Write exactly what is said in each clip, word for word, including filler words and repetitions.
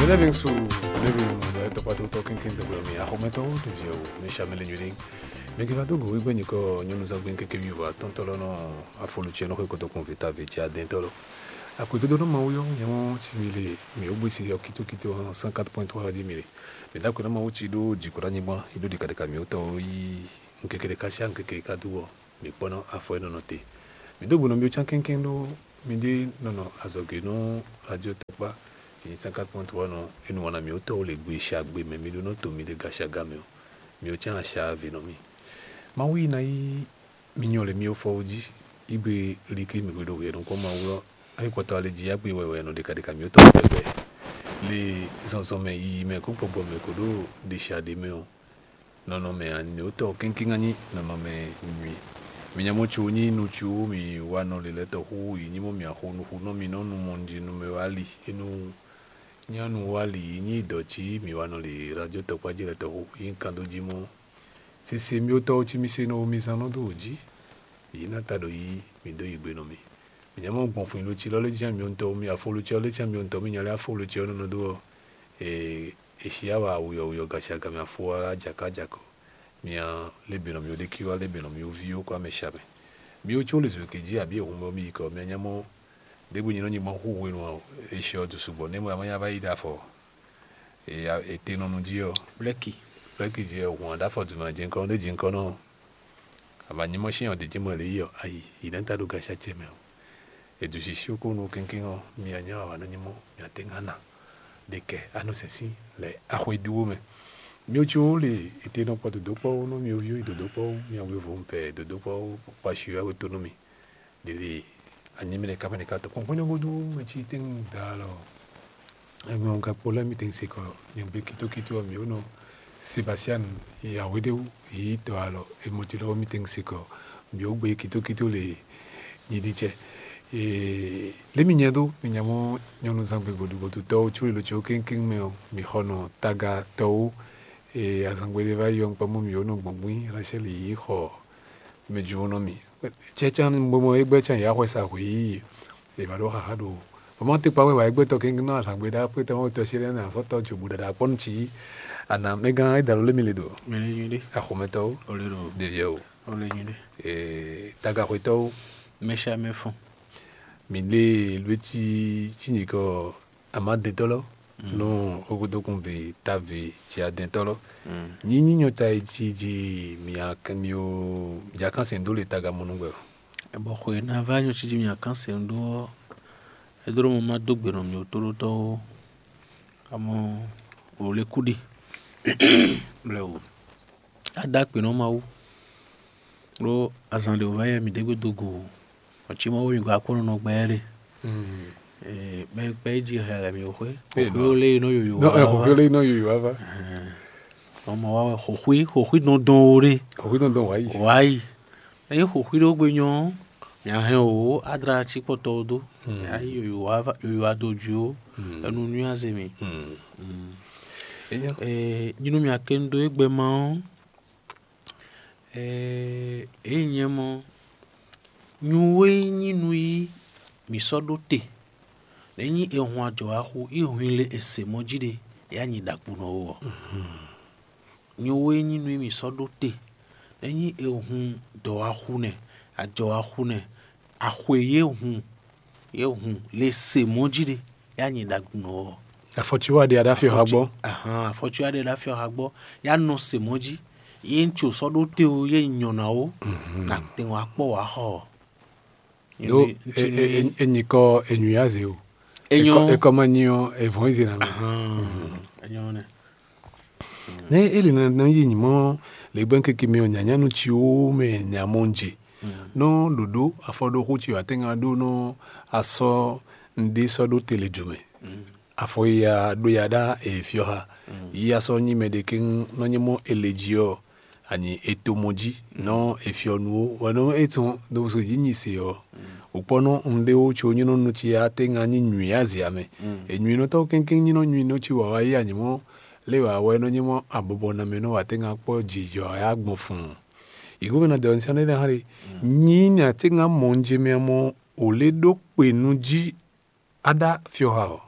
Lɛ́vɛ́ su lɛ́vɛ́ mɔ lɛ́ tɔkpá tó tɔ́ kínkín dɔgbɛ mi axɔmɛtɔ́ ɖo viɛ o mi sa mɛ lɛ nyuɖe. Mi ke va dó go wígbɛ nyikɔ nyɔnu zangbe kéké mi va tɔntɔ lɔ nɔ afɔlu tiɛ nɔ xwe kɔtɔkun vita viti adɛntɔ lɔ. Akwe dodo nɔ Mawu yɔ nyɛ mɔ si mi le mi o gbesi yɔ kito kito hã cent quatre point trois di mi le. Mi da kwe nɔ Mawu ci ɖo jikɔ ɖo anyigba yi ɖo ɖika ɖika mi o tɔ yi nkeke ɖeka sia nkeke ɖeka do wɔ. Mi kpɔ́ nɔ afɔ e nɔ nɔ te. Mi dó gbe nɔ mi cán kɛ́nkɛ́n ɖó mi ɖe nɔ nɔ azɔ̌ ge nú radio tɔkpá sin cent quatre point trois nɔ e nu wana mi wú tɔ́ le gbe e sha gbe mɛ mi ɖó nɔ to mi ɖe gashi aga mɛ ɔ́, mi wú cán asha ave nɔ mi. Mawu yi ná yí mi nyɔ le mi fɔ wú jí, yí gbe líkí mi gbe ɖo hwɛ nukɔn Mawu ɔ́, ayǐkpɔtɔ ale jí yá gbe wɛwɛ nɔ ɖeka ɖeka mi wú tɔ́ pɛpɛ. Le zɔnzɔn mɛ yiyi mɛ kó gbɔgbɔ mɛ kó ɖo ɖe sha ɖe mɛ ɔ́, nɔnɔmɛ anyotɔ́ kɛ́nkɛ́n ká nyí nɔnɔmɛ nyui. Mi nya mɔ co nyí nu co mi wa nɔ lě lɛ́ɛ tɔn xú yi nyí mɔ mi axo nuxunɔ mi nɔ nu mɔ njí nu mɛ wá li enu nyánu wá li yi nyí dɔ̌ cí mi wa nɔ lě radio tɔkpá jí lɛ́ɛ tɔn xú yi kan dó jí mɔ. Sese mi ótɔ́ cí mi se nɔ mi zán nɔ dó wǒ jí. Yi ná ta ɖo yi mi dó yi gbe nɔ mi. Mi nya mɔ gbɔn fun lo cí lɔ lé jí mi ntɔ mi afo lo cí lɔ lé cí mi ntɔ mi nya lé afo lo cí ɔ́ nɔ dó ɔ́. Ee, Eshiyawa wuyɔwuyɔ gasiaga mɛ afo wá jakájakɔ. Mia léběnɔ mì ɖékíwá léběnɔ mì ví ó kó amɛ sha mɛ. Mi ó có lě zǒ ké jí abǐ ehun mɛ mi yi kɔ mia nya mɔ ɖěbǔ nyi nɔ nyi gbɔn xú hwenu ɔ, eshɔ du sugbɔ nɛ mɔ amanya va yi ɖe afɔ. Ete nɔ nu jí ɔ. Blɛki. Blɛki jí ɔ hɔn ɖe afɔ du mɛ jɛnkɔ ɖe jɛnkɔ nɔ. Ava nyi mɔ sín ɔ ɖě jí mɔ lě yi ɔ ayi yi nɛ ta ɖo gasi acɛ mɛ ɔ. Edu sisi ko nú kínkín ɔ́, mi anya wa nɔ nyí mɔ mi ate ŋa na ɖe kɛ anɔ sɛn sín lɛ axwe dúwó mɛ. Mi ó cí wó le ete nɔ kpɔ dodó kpɔ́ wó nú mi ó ví dodó kpɔ́ wó mi awe vo pɛ dodó kpɔ́ wó kpa si wá wé tó nú mi. Ɖeɖe anyi mi ɖeka mɛ ɖeka tɔ kpɔnkpɔn nyɔ́ vodú mɛ cí tɛ́ da alɔ. Ɛgbɛ ɔn gakpo lɛ́ mi tɛ́ se kɔ nyɛ gbe kítókító ɔ́ mi ó nɔ Sebastian Yahweh ɖe wú yi tɔ alɔ emɔtí lɔwọ́ mi tɛ́ se kɔ mi ó gbe kítókító le. Nyi ɖi cɛ. Lě mi nyɛ dó mi nya mɔ nyɔnu zangbe voduvodutɔwo có elo có kéŋkéŋ mɛ ɔ́, mi xɔ nɔ taga tɔwo. Azangbe ɖé va yi ɔ́, un kpɔ́n mɔ mi ó nɔ gbɔn gbín Rachel yi xɔ mɛ jǒnɔ mi. Cɛ́cán bó mɔ é gbɛ́ can yǎ xwɛ sa hwǐ, è va ɖó xaxá ɖo bɔ mɔ te kpa wɛ wǎ é gbɛtɔ́ kéŋkéŋ nɔ azangbe ɖá xwé tɔn tɔ sí lɛ́ nɔ afɔtɔ́ jobu ɖaɖa kpɔ́ nú cí. Ana mɛgán é da ló lé mi le do. Mɛ ní nyuɖé. Axɔmɛtɔ́wo. Ó lé ɖo. Ɖeviɛ o. Ó lé nyuɖé. Tagaxwetɔ́wo. Mɛsha mɛfɔn. Mi lé lwétí cí nyikɔ amadetɔ́ lɔ nɔ xókódókun ve ta ve cia dɛntɔ́ lɔ. Nyí nyínyɔ ta e jí jí mi akɛn mi o mi já kán sɛn dó le taga mɔnú gbɛ o. Bɔ xwe ná va nyɔ cí jí mi akán sɛn dó ɔ́, é dó mɔ má dó gbe nɔ mi o tóɖótɔ́ ó. Amɔ wò le kú ɖi. Blɛ o. Ada akpe nɔ Mawu. Ɖó azan ɖe wòva yɛ mi ɖe gbe do go. Ɔtí mɔ wɛ mi gba kpɔ́n nɔ gbɛ ɖe. Mɛ kpɛ yi ji hɛ lɛ mi xwe. Xɔxwe lé nɔ yoyo. Xɔxwe lé nɔ yoyo ava. Ɔmɔ wa wɛ xɔxwe xɔxwe dɔn dɔn o ɖe. Xɔxwe dɔn dɔn wa yi. Wa yi. Eye xɔxwe ɖo gbe nyɔ. Mia hɛn o adra ci kpɔtɔ o do. Ya yi yoyo ava yoyo ado ju o. Enu nui aze mi. Nyinu mia ke nu do egbe ma ɔ. Ee nyɛ mɔ, nyu e nyí nú yí mǐ sɔ́ ɖó te, nɛ̌ nyí è hun ajɔ̌ wá xú í hwin lě è se mɔ̌ jí ɖe, é wá nyi ɖagbunɔ ó ɔ́? Nyu e nyí nú mì sɔ́ ɖó te, nɛ̌ nyí è hun dɔ̌ wá xú nɛ́, ajɔ̌ wá xú nɛ́, axwe yě hun yě hun le se mɔ̌ jí ɖe, é wá nyi ɖagbunɔ ɔ́. Afɔtí wá ɖe aɖáfíɔ ha gbɔ. Ahan, afɔtí wá ɖe aɖáfíɔ ha gbɔ, yá nɔ se mɔ̌ jí, yé ń tso sɔ́ ɖó te o, yé nyɔ ná o, na tɛn wá kpɔ wá xɔ. Ɖó enyikɔ enyuyáze o. Enyɔ ekɔ ma nyi ɔ evɔn ize na mɛ. Enyɔ nɛ. Ne eli nɔ yi nyimɔ le gbɛn keke mi ɔ nyanyanu ciwo mɛ nyamɔ nje nɔ ɖoɖo afɔɖoxo ci wa tɛnga ɖo nɔ asɔ nɖe sɔ ɖo tele jumɛ. Afɔ ya ɖo ya ɖa efiɔ ha yi asɔ nyi mɛ ɖe ke nɔ nyimɔ ele ji ɔ anyi eto mɔ jí nɔ efiɔ nu wo wɛ nɔ etɔn ɖo so dzi nyi se ɔ. Wokpɔnɔ nɖe wo tso nyinɔ nu ci ya tɛnga nyi nyui azia mɛ. Enyuinɔtɔ kɛnkɛn nyinɔ nyuinɔ ci wa wa yi anyimɔ le wa wɛ nɔ nyimɔ abɔbɔ na mɛ nɔ wa tɛnga kpɔ jijɔ ya gbɔn fun. Igu mɛ na dɔ nsian ɖe hã ɖe nyi nya tɛnga mɔ nje mɛ mɔ o le ɖo kpe nu jí aɖa fiɔ ha ɔ.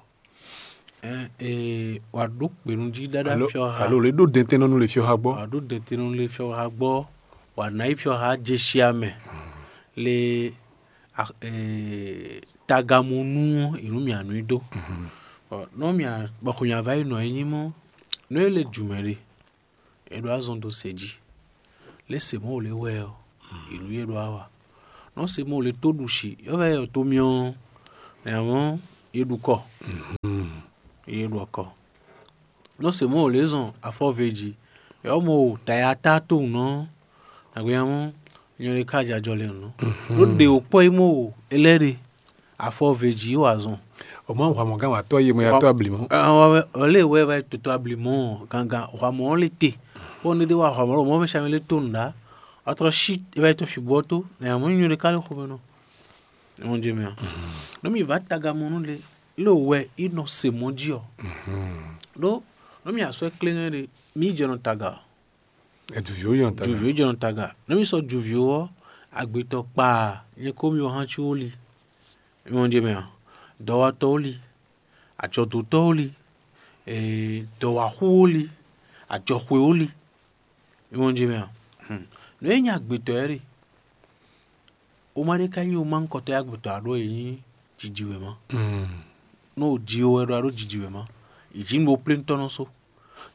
Ɛɛ, wà ɖó kpenu jí ɖaɖa Alo, fyɔ ha. Alo lě ɖó dɛntɛnnɔnu le fyɔ ha gbɔ. Wà ɖó dɛntɛnnɔnu le fyɔ ha gbɔ. Wà nǎ yi fyɔ ha jesia mɛ. Le a- ɛɛ, tagamɔnu ɔ́, ìnú mì anú i dó. Bɔ nɔ mì a- bɔ xɔ mì ava yi nɔ e nyí mɔ, nɔ e le jumɛ ɖe, e ɖo azɔn dó se jí. Lě se mɔ wò lě wɛ ɔ́, ìnú yě ɖo awa. Nɔ se mɔ wò lě tó ɖu si, yɔ vɛ yɔ tó myɔ, nɛ mɔ yě ɖu kɔ. Yě ɖu kɔ. Nɔ se mɔ wò lě zɔn afɔve jí, yɔ mɔ wò tayata tó nɔ, nagbe ya mɔ nyɔ ɖe ká jajɔ le nɔ. Ɖó ɖe wò kpɔ yi mɔ wò elɛ ɖe, afɔve jí wà zɔn. O ma hwa mɔ gán wà tɔ ye mɔ ya tɔ abli mɔ. Ɔlɛ wɛ wɛ toto abli mɔ gangan hwa mɔ le te. Bɔ ne de wa hwa mɔ lɔ mɔ mɛ sami le to nda. Atrɔ si e va yi to fi bɔ to na ya mɔ nyɔ ɖe ka le xɔmɛ nɔ. Mɔ jɛ mɛ. Nɔ mi va taga mɔ nu le lo wɛ i nɔ se mɔ ji ɔ. Ɖo nɔ mi asɔ klɛngɛ ɖe mi jɛ nɔ taga. Eduvio yɔn taga. Duvio jɛ nɔ taga. Nɔ mi sɔ duvio ɔ agbetɔ kpa nyɛ ko mi o han ci wo li. Mɔ jɛ mɛ. Dɔwatɔ wo li. Ajɔdotɔ wo li. Dɔwaxu wo li. Ajɔxwe wo li. Mɔ jɛ mɛ. Nɔ e nyi agbetɔ yɛ ɖe. O ma ɖe ka nyi o ma ŋkɔtɔ ya gbɔtɔ aɖo e nyí jiji wěma. Nú o ji o wɛ ɖo aɖo jiji wěma, yi ji nú bo plé ŋutɔ́ nɔ so.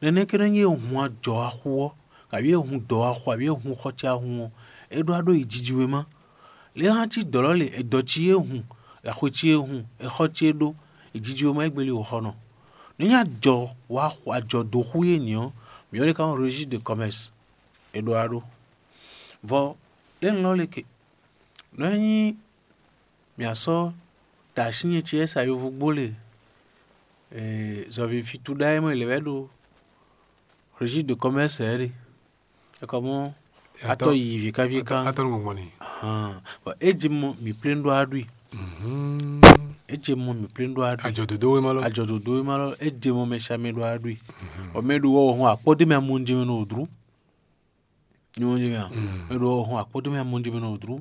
Nɛnɛ́ ké nɔ nyi e hun ajɔ axu ɔ́, kabí e hun dɔ̌ axu, abí e hun xɔ ce ahun ɔ́, é ɖo aɖo yi jiji wěma. Lě e hán cí dɔ̌ lɔ le, è dɔ̌ cí e hun, axwe cí e hun, è xɔ cí e ɖó, yi jiji wěma é gbeli wǒ xɔ nɔ. Nú nyi ajɔ wa ajɔ dó xú yé nyǐ ɔ́, mǐ ɔ́ ɖe ka nɔ registre de commerce, è ɖo aɖo. Vɔ lě nɔ lɔ le ke. Nɔ e nyí mǐ a sɔ́ da así nyɛ ce ɛ sa yovógbó le zɔ̌ví fí túɖá e mɔ è lɛ̌ wɛ ɖo registre de commerce ɛ ɖe. É kɔ mɔ atɔ yi vǐ ká vǐ ká. Atɔ nɔ gbɔn ni. Ahan. Bɔ é jɛ mɔ mǐ plé ɖó aɖui. É jɛ mɔ mǐ plé ɖó aɖui. Ajɔ dodo wema lɔ. Ajɔ dodo wema lɔ é jɛ mɔ mɛ sami ɖó aɖui. Bɔ mɛ ɖo wɔ hɔn akpɔ́ dé mɛ amɔnjɛ mɛ nɔ wòdru. Nyɔnjɛ mɛ a? Mɛ ɖo hɔn akpɔ́ dé mɛ amɔnjɛ mɛ nɔ wòdru.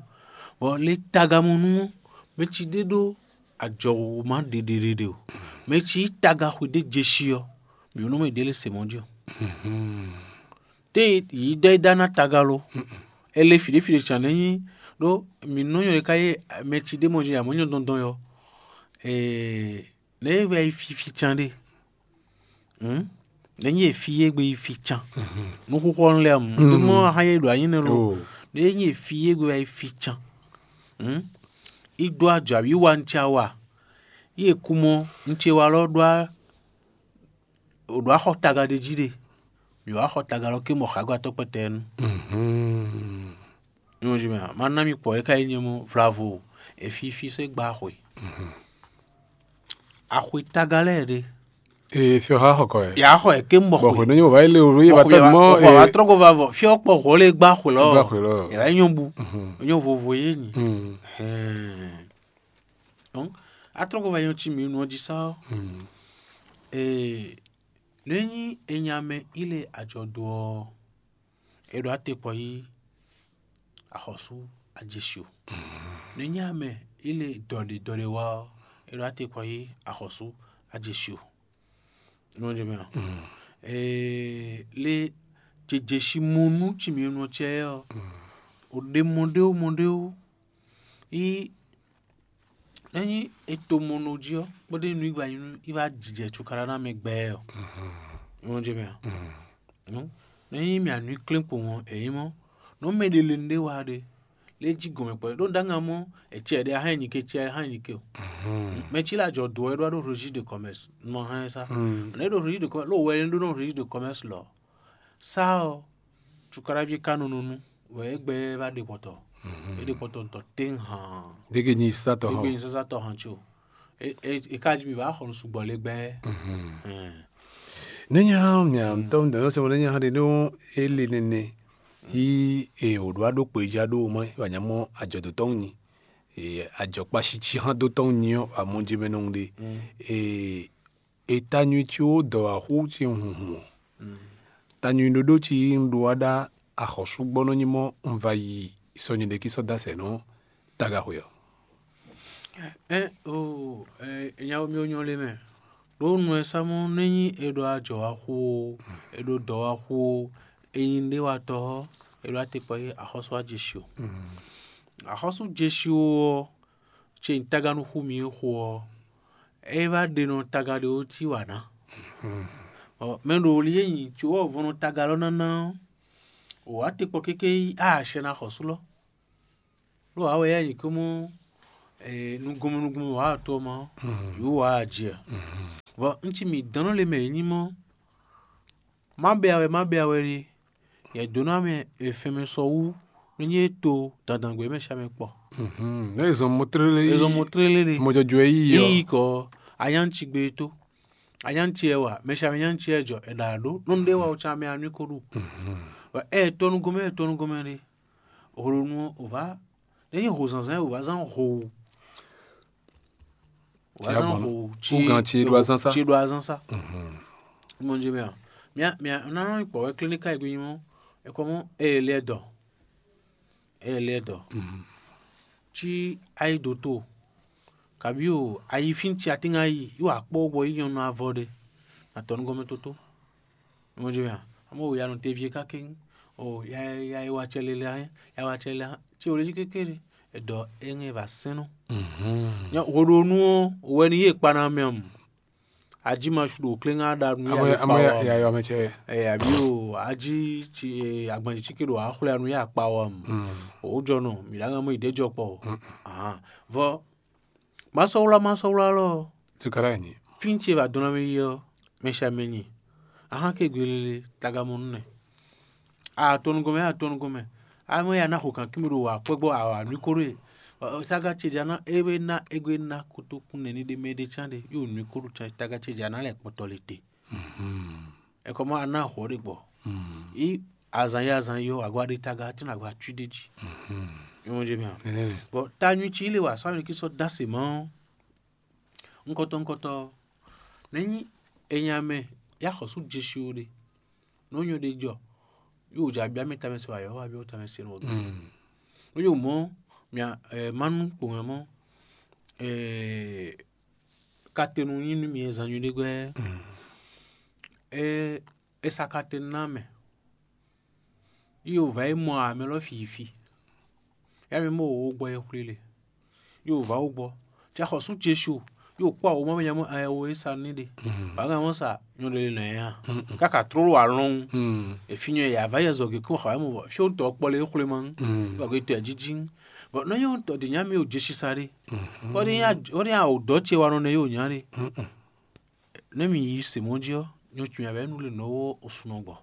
Bɔ lé tagamɔnu ɔ́, mɛ ci ɖé ɖó ajɔwòma ɖeɖeɖeɖe o. Mɛ ci yí taga xwe ɖé jeshi ɔ́, mǐ nɔ mɛ ɖě lě se mɔ̌ jí o. Té yǐ dɔ é dá ná taga lo. É lé fǐɖéfǐɖé can nɛ́ nyí ɖó mǐ nɔ nyɔ ɖé ká yé mɛ ci ɖé mɔ jí amɔ̌ nyɔ dɔndɔn yɔ. Nɛ̌ é wɛ yi fifi can ɖe? Nɛ̌ nyí e fí yé gbe yi fi can? Nú xúxú ɔ́ lɛ́ɛ mu. Ɖé mɔ hán yé ɖo anyí nɛ́ lo. Nɛ̌ nyí e fí yé gbe wɛ yi fi can? Yi dó ajɔ abǐ wa un ce wa. Yi e kú mɔ un ce wa lɔ ɖó ɖó axɔ taga ɖé jí ɖe. Mǐ wá xɔ taga lɔ ké mɔ xǎgbátɔ́ kpɛtɛɛnu. Nyɔnji mɛ ma ná mi kpɔ é ká yi nyɛ mɔ vlavo efifi sɔ́ gba axwe. Axwe taga lɛ́ɛ ɖe. Ee, fi ɔha xɔ kɔ yɛ. Yà xɔ yɛ ké mɔ Bɔ xwe. Xwe nɔ nyi bɔ va yi le o yé va tɔ mɔ Bɔ ee. Wa trɔ ko va vɔ fi ɔkpɔ xɔ le gba xwe lɔ. Gba xwe lɔ. Yà nyɔ bu. Nyɔ vovo yé nyi. Mm. Hɛn. Donc atrɔ ko va nyɔ tsi mi nɔ dzi sa. Mm. Ee, ne nyi enyamɛ ile adzɔ do ɔ. E ɖo ate kpɔ yi axɔsú ajesu. Ne nyi ame ile dɔɖe dɔɖe wa ɔ, e ɖo ate kpɔ yi axɔsú ajesu. Nɔ jɛ mɛ ɔ. Ee, le jejeshi mɔnu tsi mi nɔ tsɛ ɔ. O ɖe mɔ ɖewo mɔ ɖewo yi Ényí è to mɔ nɔ jí ɔ́, kpódó nú yi wá jijɛ cukaɖa ná mɛ gbɛ ɔ́, é wɔn jɛ mɛ ǎ. Nú ényí mì anǔ klɛ́nkpo mɔ è nyí mɔ́, nǔ mɛ ɖé le nú ɖé wa ɖe, lé jí gɔ̌n mɛ kpɔ́ ɖó ɖó ná mɔ è cɛ ɖé a hɛn nyi ke cɛ a hɛn nyi ke o. Mɛ cí la jɔ do wɛ ɖó wá ɖó registre de commerce, nɔ hɛn sá. Nɛ ɖó registre de commerce, ló wɛ ɖó nɔ registre de commerce lɔ. Sá ɔ́, cukaɖaví ka nɔ nɔ nú wɛ é gbɛ va ɖe kpɔtɔ. É ɖe kpɔtɔ ŋutɔ tɛ́nhan. Dégé nyi sátɔ hàn. Dégé nyi sásátɔ hàn tso. É é é ka jí mi va xɔ nú sugbɔ lé gbɛ. Nényá mia ŋutɔ ŋutɔ sɛ mo nényá ɖe ɖó é le nɛnɛ yí e wò ɖo aɖó kpe ja ɖó o mɔ wà nyá mɔ ajɔdotɔn nyi ajɔkpasi ci hã dotɔn nyi ɔ amɔ jɛ mɛ nɔ ɖe. Eta nyui ci wo dɔ̌ wá xú ci hunhun ɔ́, ta nyui ɖóɖó ci yí un ɖó wá ɖá axɔ́súgbɔ́nɔ nyí mɔ́ un va yi sɔ́ nyɛɖékí sɔ́ dó asɛ nɔ́ tagaxwe ɔ́. Ɛ o ɛ nyawo mi ò nyɔ le mɛ. Ɖó nú ɛ sá mɔ́ nú é nyí è ɖo ajɔ̌ wá xú ó, è ɖo dɔ̌ wá xú ó, è nyí ɖéwatɔ́ ɔ́, è ɖo atekpɔ yí axɔ́sú wá jeshi ó. Axɔ́sú jeshi ó ɔ́, ce nyí taga nú xú mì e xo ɔ́, é wá ɖe nɔ taga ɖé ó cí wǎ ná. Mɛ ɖo li e nyi cǒ ɔ́ vɔn nɔ taga lɔ ná ná ɔ́, wǒ wá tekpɔ kéké yí a sɛ ná xɔ̌sú lɔ. Ɖó wǎ wɛ yá nyi kó mɔ nugɔnmɛ nugɔnmɛ wǎ to ɔ́ ma ɔ́, yǒ wǎ jɛ. Vɔ un ci mǐ dɔn nɔ le mɛ yě nyí mɔ má bɛ awɛ má bɛ awɛ ɖe, yɛ dǒ ná mɛ e fɛn mɛ sɔ wú nú nyí e to dandangbé mɛ sha mɛ kpɔ. Ɛ zɔn mɔtrélé Ezɔn mɔ tlélé ɖe. Mɔjɔjɔ yí yɔ. Yi kɔ anyánci gbe tó anyánci ɛ wa mɛ sha mɛ nyánci ɛ jɔ ɛ ɖa ɖó nɔnu ɖé wa o tsa mɛ anú ko ɖu. Ɛ tɔnu gomɛ ɛ tɔnu gomɛ ɖe. Holo nu o va ne nyi ho zanzan o va zan ho. O va zan ho Ugan ci ɖo azan sa. Ci ɖo azan sa. Mo dzi mɛ a mia mia na nɔ kpɔ wɛ klinika yi gbe nyi mɔ ekɔ mɔ eye lɛ dɔ eye lɛ dɔ ci ayi do to kabi o ayi fi ci atinga yi yi wa kpɔ bɔ yi nyɔnu avɔ ɖe na tɔnu gɔmɛ toto. Mo dzi mɛ a amo ya nɔ te vie ka king o ya ya yi wa cɛ lele ya wa cɛ lele ci o le dzi kékeré edɔ eŋe va sɛnɔ. Nyɔ wo ɖo nu o wɛ ni ye kpa na mɛ mu. Aji ma su ɖo kléŋá ɖa nu ya Amo ɖo amo kpa ya wa ya mu. yɔ mɛ cɛ. Ɛ abi o aji ci e agbanji ci ke ɖo axwlɛ anu ya kpa wa mu. O jɔ nɔ mi ɖa ŋa mo ide jɔ kpɔ o. Ahan vɔ masɔwla masɔwla lɔ Tukara nyi. fi ce va dɔn na mi yi ɔ mɛ sha mɛ nyi ahan ke gbe lele tagamɔnu nɛ. Atɔnugɔmɛ atɔnugɔmɛ amɛ ya na xo kan kimi ɖo wa kpɛgbɔ awa nui ko ɖo ye. Saga ce ja na ebe na egbe na kotokun nɛ ni ɖe mɛ ɖe can ɖe yo nui ko ɖo can taga ce ja na lɛ kpɔtɔ le te. Ekɔmɔ ana xɔ ɖe gbɔ yi azan yi azan yi ɔ agba ɖe taga ti na agba tui ɖe ji. Yɔn je mɛ. Bɔn ta nyui ci le wa sɔ amɛ ki sɔ dase mɔ. Ŋkɔtɔ ŋkɔtɔ nɛ nyi enya mɛ ya xɔ su jesu ɖe. Nɔ nyɔ ɖe jɔ yóò dza bia mɛ tamɛ se wa yɔ wa bia tamɛ se nɔ. Nɔ yóò mɔ mia manu kpɔn mɔ. Katenu nyi nu mi zan nyuɖe gbɛ. Esa katenu na mɛ. Yóò va yi mɔ amɛ lɔ fi yi fi. Ya mi mɔ wo gbɔ ye xwlé le. Yóò va wo gbɔ. Tsa xɔ sú jesu yóò kpɔ awo mɔ mɛ nyamɔ ayɛ wo esa ní ɖe. Ba ŋa mɔ sa nyɔ ɖe le nɔ ya. Kaka tró wa lɔn. Efi nyɔ ya va yɛ zɔ ge kó xɔ mɔ fi wo tɔ kpɔ le xwlé ma. Ba go to ya jiji. Bɔ nɔ yɛ tɔ de nya mi o jesu sa ɖe. Wọ́n ní àwòdọ́ tiẹ̀ wa nɔ nɛ yóò nyá ɖe. Nɛ mi yi se mɔ jí ɔ nyɔ tún ya bɛ nu le nɔ wo osunɔ gbɔ.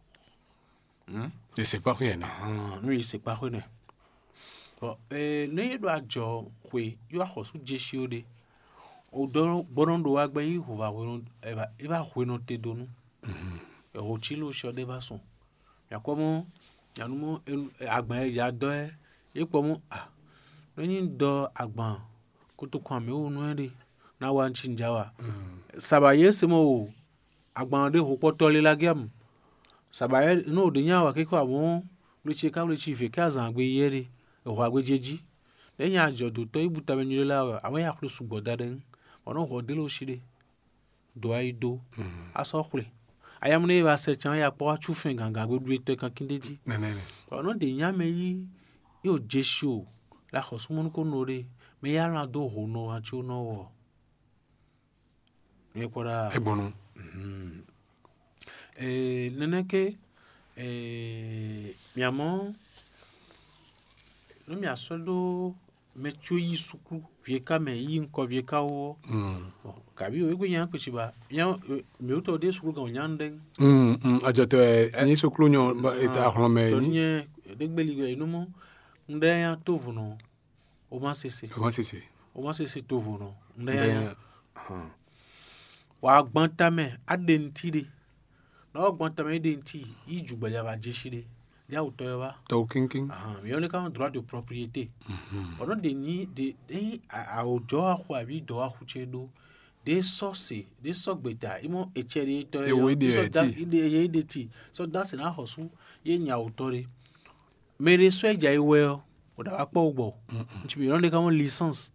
Ese kpa xwe yẹn nɛ. Hàn nú yìí ṣe pákó nɛ. Bɔ ee ní yé ɖo ajɔ xwe yó axɔsú jeshi ó ɖe. O dɔ gbɔdɔ ɖo wa gbɛ yí hova hwenɔ eba eba hwenɔ te donu. Eho tí ló ṣe ɔɖɛ va sùn. Yakɔ mɔ yanu mɔ agban yɛ ya dɔ ɛ yé kpɔ mɔ a. Nɔ nyi dɔ agban kótó kɔn amɛ wo nɔ ɛ ɖe na wa ŋtsi ŋdza wa. Saba yé se mɔ o agban ɖé hokpɔtɔ lé la gɛ́ mu. Saba yɛ nɔ o ɖe nya wa kékɔ amɔ wleci ka wleci vě ká zan agbe yɛ ɖe ehɔ agbe jɛ jí. Ɖe nya ajɔ do tɔ yi bu tamɛ nyuɖe la wɛ amɔ ya xwle sugbɔ da ɖe ŋu. Bɔ nɔ hɔ dé lo si ɖe. Do ayi do. Asɔ xwle. Ayamune yi va sɛ can ya kpɔ wa cu fɛn gangan gbe ɖu etɔ kan kín ɖe jí. Bɔ nɔ ɖe nya mɛ yi yóò jesu o la xɔ súnmɔnu ko nɔ ɖe mɛ ya lan dó ho nɔ wa tso nɔ wɔ. Mi kpɔ ɖa. Egbɔnnu. Ee, nɛnɛ ke ee, miamɔ nú miasɔ ɖo mɛ tso yi suklu vie ka mɛ yi ŋkɔ vie ka wo ɔ. Kabi o egbe nya kpesi ba nya miwutɔ ɖe suklu gan o nya nu ɖe. Ajɔtɔ ɛ nyi suklu nyɔ ahlɔnmɛ Tɔ nyi. Nyɛ ɖe gbeli wɛ nu mɔ nu ɖe nya to vunɔ o ma sese. Ɔmɔ sese. O ma sese to vunɔ nu ɖe nya nya. Wa gbɔn tamɛ aɖe ŋti ɖe. Na wa gbɔn tamɛ aɖe ŋti yi ju gbɛlɛ va jeshi ɖe. Ya wutɔ yɔ va. Tɔw kínkín. Ahan, mi yɔ ne ka droit de propriété. Bɔn nɔ de nyi de eyi awòjɔ axu abi dɔ axu ce ɖo. De sɔ se de sɔ gbeta imɔ etsɛ ɖe tɔ Ewo yɔ ide de sɔ da ti. Ide ye ide ti sɔ da se na xɔsu ye nya wutɔ ɖe. Mɛ ɖe sɔ edza yi wɛ ɔ o da wa kpɔ wo gbɔ. Ŋutsu mi yɔ ne ka mɔ licence.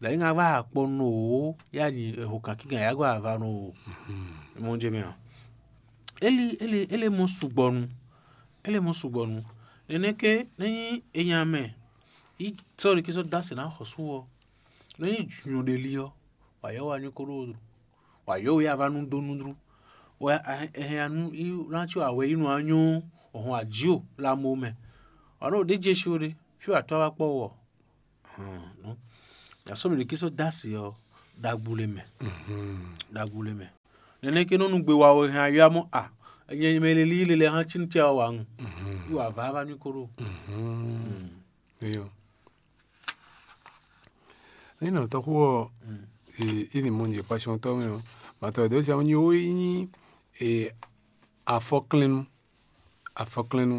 Dǎ é ŋa vá akpɔ nú wǒ yá nyi eho kan kígan yá gɔ́ ava nú wǒ. Mɔ jɛ mɛ a? Éli éli éli mɔ sugbɔ nu. Éli mɔ sugbɔ nu. Nɛnɛ́ ké nɛ́ nyí enya mɛ yí sɔ́ ɖi kí sɔ́ dó asě ná xɔsú ɔ́, nɛ́ nyí nyɔ̌ɖeli ɔ́, wǎ yɔ́ wá ní kó ɖó wǎ yɔ́ wɛ ava nú dó núdrú. Wɛ ɛhɛn ya nú í ná cí wǎ wɛ yí nú anyɔ́ ɔ́, hɔn ají o la mo mɛ. Wǎ nɔ ɖé jɛ si ó ɖé, fí wǎ tɔ́ wá kpɔ́ wɔ. Yasɔ́ mɛ ɖé kí sɔ́ dó asě ɔ́, ɖagbu le mɛ. Ɖagbu le mɛ. Nɛnɛ́ ké nɔ nú gbe wa wɛ hɛn ayɔ́ mɔ a, nyɛ mɛ lelí lele hán cí nú tɛ wa wǎ ŋu. Yí wǎ vá vá ní kó ɖó. Eyo. Ní nɔ tɔxu ɔ, e ní mɔ nyi kpasiɔntɔ mɛ ɔ, matɔ ɖe sia nyi wo nyi e afɔklɛnnu, afɔklɛnnu,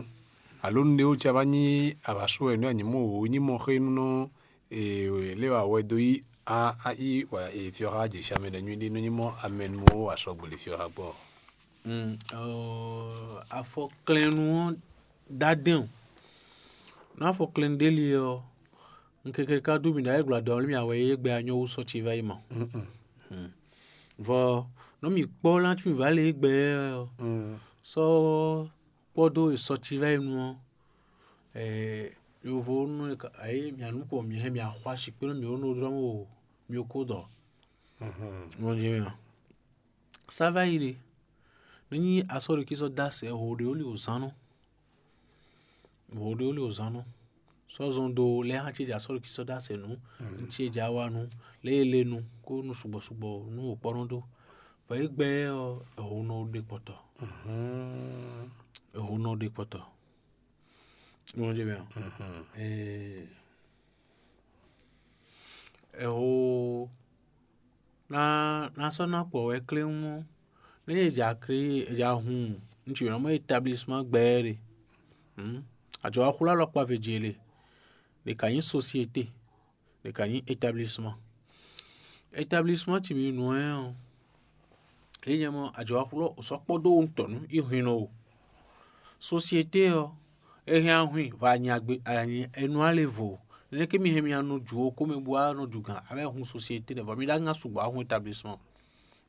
alo nɖé wo ca va nyi avasu wɛ nú anyimɔ wo nyi mɔ xé nú nɔ e lé wa wɛ dó yi a a yi wa e fiɔ xa jɛ siamɛ ɖe nyui ɖi nú nyi mɔ amɛnu wo asɔgbele fiɔ xa gbɔ. Afɔklɛnnu ɔ́ dádɛn o. Nú afɔklɛnnu ɖé li ɔ́, un keke ka dó mì ɖo ayǐ gbla dɔ̌n mì awɛ yé gbɛ anyɔ wú sɔ́ ci vá yi mɔ. Vɔ nɔ mì kpɔ́ lá tí mì vǎ lě gbɛ ɔ́, sɔ́ kpɔ́ dó e sɔ́ ci vá yi nu ɔ́, yovo nú ayé mì anú kpɔ mì hɛn mì axwa sikpé nú mì ó nɔ dlɔ́ mì o mì ó kó dɔ. Mɔ jɛ mɛ a? Sá vá yi ɖe. Nú nyí asɔ́ɖokísɔ́ dó asɛ ho ɖé ó li wǒ zán nɔ. Ho ɖé ó li wǒ zán nɔ. Sɔ́ zɔn dó lɛ́ hán ce jɛ asɔ́ɖokísɔ́ dó asɛ nǔ, nú ce jɛ awa nú, lɛ́ e lé nu kó nú sugbɔ sugbɔ nú wǒ kpɔ́ nɔ dó. Vɔ é gbɛ́ ɔ́, ho nɔ ɖe kpɔtɔ. Ho nɔ ɖe kpɔtɔ. Nɔ jɛ mɛ a? Ee. Ɛho ná ná sɔ́ ná kpɔ wɛ kléwún ɔ́, nú é ja kré é ja hun nú ci nɔ mɔ établissement gbɛɛ ɖe. Àjɔ wá xwlá alɔkpa vě jɛ le, ɖě ka nyí société, ɖě ka nyí établissement. Établissement ci mi nǔ ɛ ɔ́, é nyɛ mɔ àjɔ wá xwlá sɔ́ kpɔ́ dó wuntɔ́ nú í hwin nɔ o. Société ɔ́, é hɛn ahwin vɔ anyagbe anyi enu ale vo. Nɛnɛ ké mi hɛn mi anɔ ju o kómɛ bó wá nɔ ju gǎn abɛ hun société ɖe vɔ mi ɖá ŋa sugbɔ ahun établissement.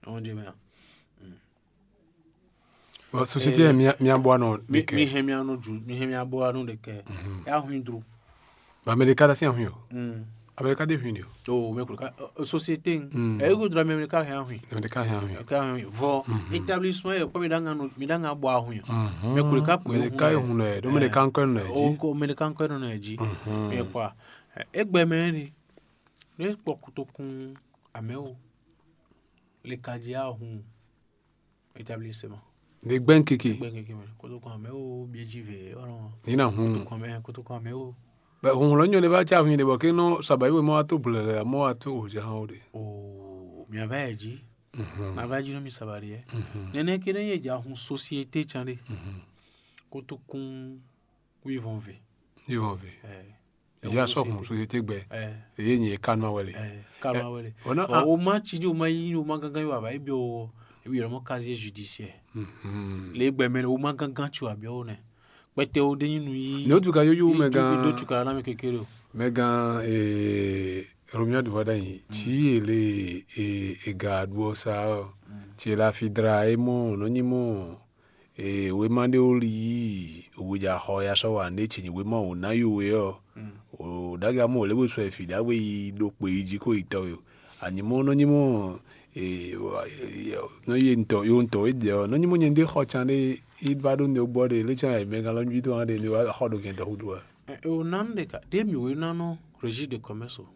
Ɛhɔn jɛ mɛ a? Bon, société yɛ mia mia bɔ anɔ Mi ɖekɛ. Mi hɛn mi anɔ ju mi hɛn mi abɔ anɔ ɖekɛ. Ya hun dro. Ba Amérique da si ahun yo. Mm. Amérique de hun yo. O mɛ kulu ka o société. Mm. Ɛ ego dra mɛ ka hɛn ahun. Amérique hɛn ahun yo. Ka hɛn ahun. Vɔ Mhm. Établissement yɛ kpɔ mi ɖá ŋa nɔ mi ɖá ŋa bɔ ahun yɛ. Mhm. Mɛ kulu ka pè Amérique hun yɛ lɛ. hun lɛ. Do Amérique kan kɔn lɛ O ji. ko mɛ kan kɔn nɔ yɛ ji. Mhm. Mi kpɔ. Egbɛ mɛ ni. Ne kpɔ kutokun amɛ o. Le ka ji ahun. Établissement. De gbɛn kiki. Gbɛ keke mɛ. Kutokun amɛ o bieji ve ɔnɔ. Ni na hun. Kutokun amɛ kutokun amɛ o. Bɛ hun lɔ nyɔ de ba ca hun de bɔ ke nɔ saba yi we mɔ ato blɛ lɛ mɔ ato o ja han o de. O mi ava yɛ ji. Mhm. Na va ji nɔ mi saba de yɛ. Mhm. Nɛnɛ ke ne yɛ ja hun société can de. Mhm. Kutokun wivɔn ve. Yivɔn ve. Ɛ. Ìyá sọ hun société gbɛ. Ɛ. Èyí nyi kánú awɛ le. Ɛ. Kama wele. Ona Ɔ o ma ci di o ma yi o ma gangan yi wa ba ebi o ebi yɛrɛ mɔ casier judiciaire. Mhm. Le gbɛ mɛ o ma gangan ci wa bi o nɛ. Kpɛtɛ o de nyi nu yi. Ne o tu ka yoyo mɛ Idu- idu gan tu ka na mi kekere o. mɛ gan ee Romia du vɔ ɖe anyi. Tsi ele ee ega ɖuɔ sa ɔ. Tsi ele afi dra e mɔ nɔ nyi mɔ ee wema ɖe o li yi o ja xɔ ya sɔ wa ne tsi nyi wema o na yo we ɔ. O ɖaga mɔ o le bo sɔ efi ɖagbe yi ɖo kpe yi ji ko yi tɔ yo. Anyi mɔ nɔ nyi mɔ ee wa- ee, nɔ ye ntɔ yo ntɔ e dɛ ɔ nɔ nyi mɔ nyɛ ɖe xɔ can ɖe yi va ɖo ne gbɔ ɖe le can mɛ gan lɔ nyi do hã ɖe ne wa xɔ ɖo gɛn tɔ hudu wa. Ɛ, o nan ɖeka ɖe mi o nan nɔ registre de commerce o.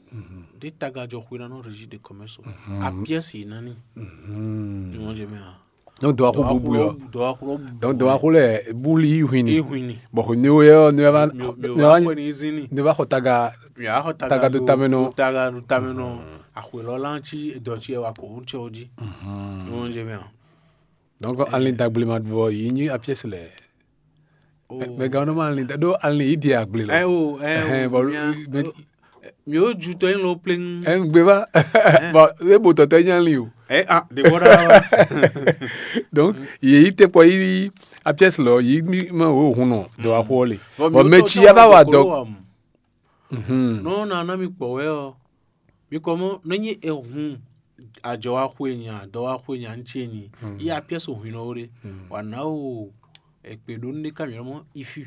Ɖe taga jɔ xwe nan nɔ registre de commerce o. A pièce yi nani. Ni wọn jẹ mɛ a. Donc dɔ wa xo bubu yɔ. Dɔ wa xo bu. Donc dɔ wa xo lɛ buli yi huini. Ehun ni. Bɔn xo ne wo yɛ ne wa Mi o ne wa wa xɔ ni zin ni. Ne va xɔ taga Mi a xɔ taga Taga do tamɛ nɔ. Taga do tamɛ nɔ. Axwe lɔ lan ci edɔ ci wa ko ŋutɔ o ji. Ni wọn jẹ mɛ a. Donc ali dagble ma bɔ yi nyi a pièce lɛ. O. Mɛ gan no ma ali da do ali yi di agble lɔ. Ɛ o ɛ Ɛhɛn, o. bɔ Mi a- mɛ- Mi o ju tɔ yin lo pleng. Ɛn gbe va. Bɔn e bo tɔtɔ nya li o. Ɛ a de bɔ da. Donc yeyi te kpɔ yi a pièce lɔ yi mi ma wo hun nɔ dɔ wa xɔ le. Bɔn mɛ tsi ya va wa dɔ. Mhm. Nɔ na na mi kpɔ wɛ ɔ. Mi kɔ mɔ nɔ nyí e hun ajɔ wa xwe nya dɔ wa xwe nya ŋutsi e nyi yi apiɛsu hwin nɔ wo ɖe wa na o ekpe ɖo nu ɖe ka mi mɔ ifi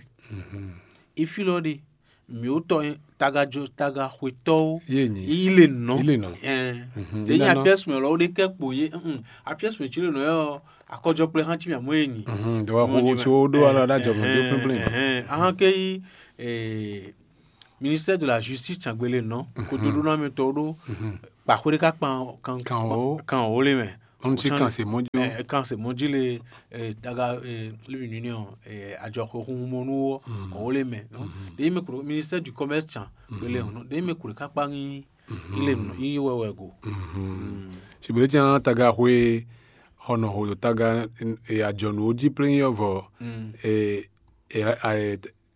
ifi lɔ ɖe mi wo tɔ taga jo taga xwetɔwo Yé nyi. Yi le nɔ Yi le nɔ. Ɛn Mhm. de Yi nyi na nɔ. Apiɛsu mɛ lɔ wo ɖe kɛ kpo ye mm apiɛsu mɛ tsi le nɔ yɔ akɔjɔ kple hã tsi mi amɔ ye nyi Mhm. Dɔ wa Mɔ xo ji tso mɛ. Ɖo ala ɖa jɔ mɔ jo Ɛhɛn, pínplín. Ɛhɛn. Ahan ke yi eh, ministère de la justice tsangbele nɔ kodoɖo na mi tɔ ɖo kpaxwe ɖe ka kpan kan Kan o. Kan o le mɛ. Ɔn ti kan se mɔ jo. Kan se mɔ ji le daga libi nini ɔ ajɔxwe hun mɔ nu wɔ o le mɛ. Ɖe mi kuro ministère du commerce tsangbele ɔ ɖe mi kuro kakpa nyi ile nɔ yi wɛwɛ go. Sigbe tí a taga xwe xɔnɔ ho taga ajɔnu wo ji plein yɔ vɔ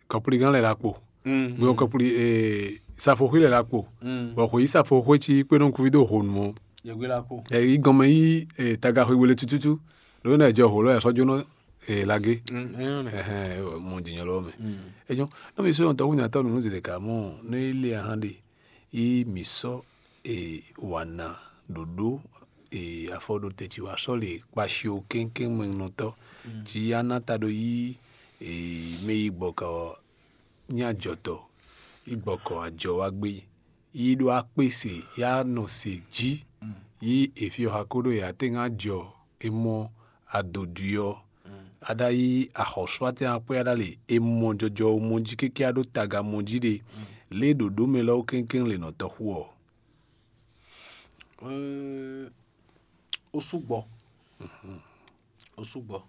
kɔpligán lɛ la kpo gbé kɔpli safoxwé lɛ la kpo bɔ xwe yi safoxwé ci kpé nɔ kuvi dó ho nu ɔ yɛgbe la kpo ɛ yi gɔnmɛ yi taga xwe gbélé tututu lónìí náà jɔ ho lɔ yà sɔjó nɔ lagé mɔ dìnyɔ lɔwọ́ mɛ ẹjọ́ náà mi sọ yàn tɔkùn yàn tọ́ nínú zèlè kà mọ́ ní ilé ahán de yi mǐ sɔ́ e wǎ ná ɖǒɖó e afɔɖótɛn ce wá sɔ́ le kpaxio kɛ́nkɛ́n mɛnɔtɔ́ cí á ná ta ɖó yí e mɛ yi gbɔkɔ ɔ́ nyí ajɔtɔ́ yi gbɔkɔ ajɔ wá gbé yi ɖó akpé se yá nɔ se jí yi efi ɔ́ xa kó ɖó e atɛ́ ŋá jɔ e mɔ adodwi ɔ́ aɖa yi axɔsúatɛn akpé aɖa le e mɔ jɔjɔ mɔ jí kéké aɖó taga mɔ jí ɖe lě ɖǒɖó mɛ lɛ́ɛ kɛ́nkɛ́n le nɔ tɔxu ɔ́. Ó sú gbɔ. Ó sú gbɔ.